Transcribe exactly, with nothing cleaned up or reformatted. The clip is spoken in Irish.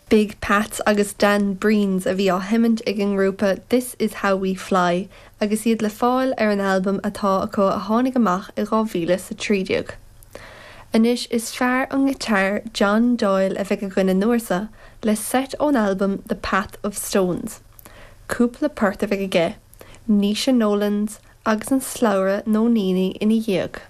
Big Pats agus Dan Breens a bhí á sheinnt ag an ngrúpa This is How We Fly agus iad le fáil ar an albam atá acu a tháinig amach i dhá mhíle sa trí déag. Anois is fear an ghiotár John Doyle a bheidh againn an uair seo le seit ón albam The Path of Stones. Cúpla port a bheidh aige, Naoise Nolans agus an slabhra nó Níní ina dhiaidh.